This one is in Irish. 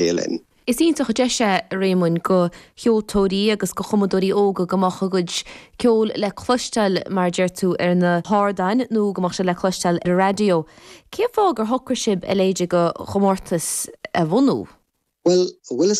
Linn. Is iontach an deis é, a Réamoinn, go cheoltóirí agus go chumadóirí óga go mbeadh a gcuid ceoil le cloisteáil, mar a deir tú, ar na hardáin nó go mbeadh sé le cloisteáil ar an raidió. Cén fáth gur shocraigh sibh a leithéid de chomórtas a bhunú? Bhuel, bhfuil fhios.